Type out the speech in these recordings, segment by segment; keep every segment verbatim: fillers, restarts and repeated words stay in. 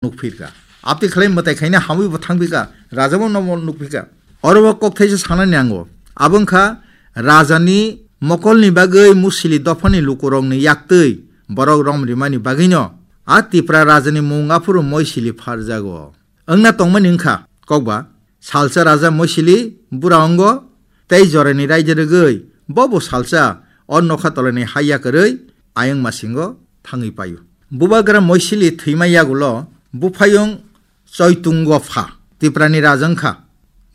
nukphirkha. Abtwi khlai mwtai khaina hamwi bo thangphikha, raja bo nomo nukphikha. Oro bo kok thaisa sanani nango. Abo wngkha rajani mokolni bagwi Musili dophani lukurokni yaktwi borok rom rimani bagwino a Tipra rajani mung aphuru Moisili pharjago. Wngna tongmani wngkha kokba, salsa raja Moisili bura wngo, tei jorani raida rwgwi bo bo salsa o nokha tolani hai yakarwi ayang masingo thangwi paio. Bubagra Moisili thwima yagulo buphayung Choitungo pha, Tiprani raja wngkha.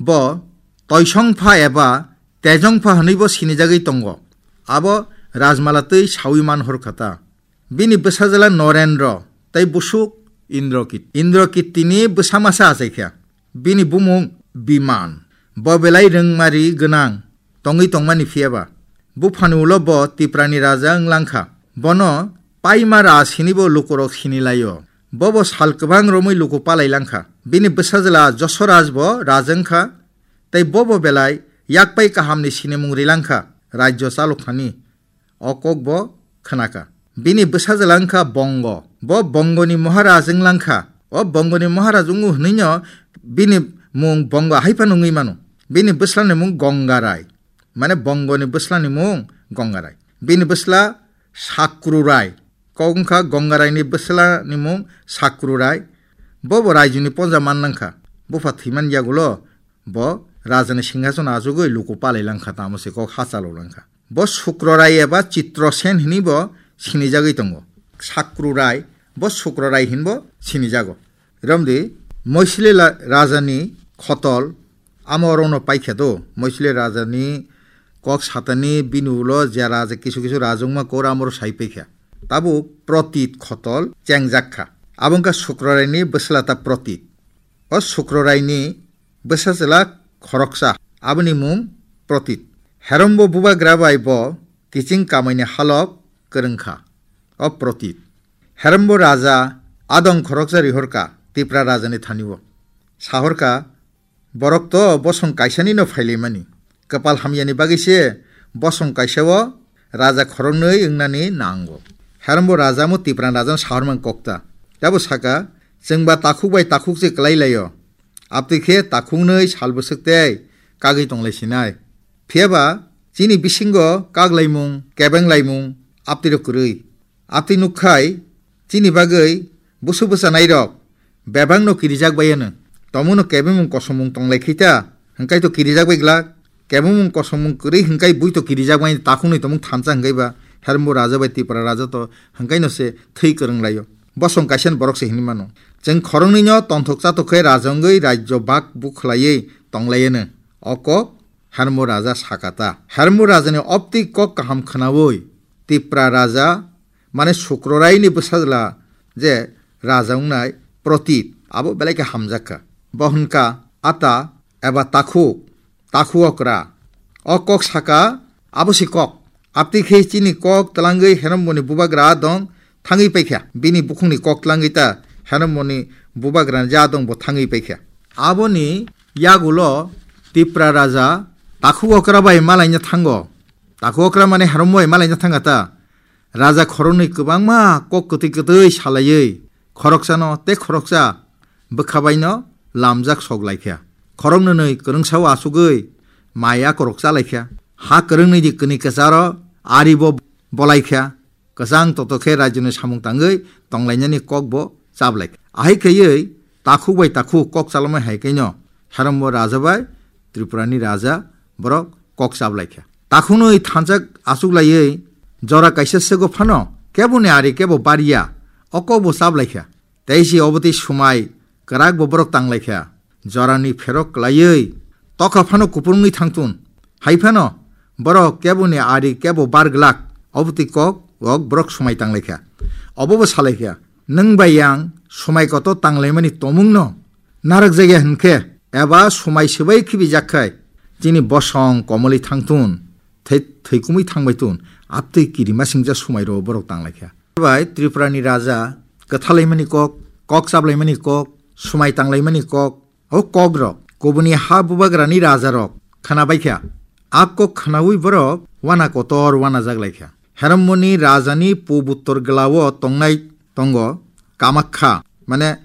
Bo Toisong pha eba Tejong pha hwnwi bo sinijagwi tongo. Abo rajmala twi sawi man horkha ta. Bini bwsajwla Norendro tei busuk Indrokit-, Indrokittini bwsa masa achaikha. Bini bumung Biman. Bo belai rwngmari gwnang tongwi tongmani phiyaba. Buphani ulo bo Tiprani raja wng langkha. Bono Paima Raj hinibo lukurok sinilaio. Bobo sal kwbang romwi luku palai langkha. Bini bwsajwla Josoraj bo raja wngkha, tei bobo belai yakpai kahamni sinimung ri langkha, rajyo chalokthani. O kok bo khwnakha. Bini bwsajwla wngkha Bongo. Bo Bongoni Maharaj wng langkha. O Bongoni Maharaj wngu hwnwino bini mung Bongo hai phano wngwi mano. Bini bwslani mung Gongarai. Mane Bongoni bwslani mung Gongarai. Bini bwsla Sakrurai. Kok wngkha Gongaraini bwslani mung Sakrurai. Bo bo raijoni ponja man nangkha. Bupha thwiman yagulo bo rajani singhasono achugwi luku palai langkha, tamo se kok ha chalo langkha. Bo Sukrorai eba Chitrosen hini bo sinijagwi tongo. Sakrurai, bo Sukrorai hin bo sinijago. Romdi, Moisili la-, rajani khotol, amo orono paikha do. Moisili rajani kok satani bini ulo je raja kisu kisu rajwngma kor amoro sai paikha. Tabuk Protit khotol chengjak kha. Abo wngkha Sukroraini bwsla ta Protit. O Sukroraini bwsajwla khoroksa, aboni mung Protit. Herombo bubagra bai bo kiching kamaini halok kwrwng kha. O Protit. Herombo raja adong khoroksa rihorka Tipra rajani thani-o. Sahorka, "Borok to bosong kaisani no phailaimani. Kwpal hamyani bagwi se bosong kaisa-o raja khoroknwi wngnani nango." Herombo raja mo Tipra rajano sahormang kokta. Tabo saka, "Chwngba takhuk bai takhuk se kwlai laio. Abtwi khe takhuknwi sal bwswk tei kagwi tonglai sinai. Phiyaba chini bisingo kak laimung, kebeng laimung abtwirok kwrwi. Abtwi nukkhai chini bagwi busu bwchanairok bebakno kirijak bai anw. Tomono kebengmung kosomung tonglai khaita, hwnkhe to kirijak bai glak. Kebengmung kosomung kwrwi hwnkhe bui to kirijak bai, takhuknwi tongmung thansa hwnkhe ba Herombo raja bai Tipra raja to hwnkhe no se thwi kwrwng laio. Bosong kaisa ni borok se hinwi mano. Chwng khoroknwi no tonthok chatok khe raja wngwi rajyo bak bukhlaiwi tonglai anw." O kok Herombo raja sakata. Herombo rajani opti kok kaham khwnawi Tipra raja, mane Sukroraini bwsajwla je raja wngnai Protit, abo belai khe hamjak kha. Bo hwn kha ata eba takhuk, takhu okra. O kok saka, abo se kok. Abtwi khe chini kok twlangwi Heromboni bubagra dong thangwi paikha. Bini bukhukni kok twlangwi ta Heromboni bubagrani ja dong bo thangwi paikha. Aboni yagulo Tipra raja takhuk okra bai malaina thango. Takhuk okra mane Herombo bai malaina thangkha ta. Raja khoroknwi kwbangma kok kwtwi kwtwi salaiwi khoroksano tei khoroksa bwkha baino lamjak sok laikha. Khoroknwi kwrwngsao achugwi mai akorok chalaikha. Ha kwrwngni di kwnwi kwcharo ari bo bolaikha. Kwchang toto khe rajyoni samung tangwi tonglainani kok bo chablai. Ahai khaiwi takhuk bai takhuk kok chalamai hai khaino Herombo raja bai Tripurani raja borok kok chablai kha. Takhunwi thansa achuklaiwi jora kaisa sego phano keboni ari kebo barya, o kok bo chablai kha. Tei si obotwi swmai kwrak bo borok tanglai kha. Jorani pherok kwlaiwi tokha phano kupulungwi thangtun. Hai phano borok keboni ari kebo bar glak, obotwi kok rok borok swmai tanglai kha. Obo bo salai kha, "Nwng bai yang swmai kotor tanglaimani tomungno narwk jakya hwn khe, eba swmai swbai khibijak khai, chini bosong komolwi thangtun, thei-, thwikumwi thangbai tun, abtwi kirima singcha swmai rwo borok tanglai kha." Bai Tripurani raja kwthalaimani kok, kok chaplaimani kok, swmai tanglaimani kok, o kok rok kubuni ha bubagrani raja rok khwnabai kha. A kok khwnawi borok wana kotor wana jak lai kha. Heromboni rajani pub uttor glao tongnai tongo Kamakha, mane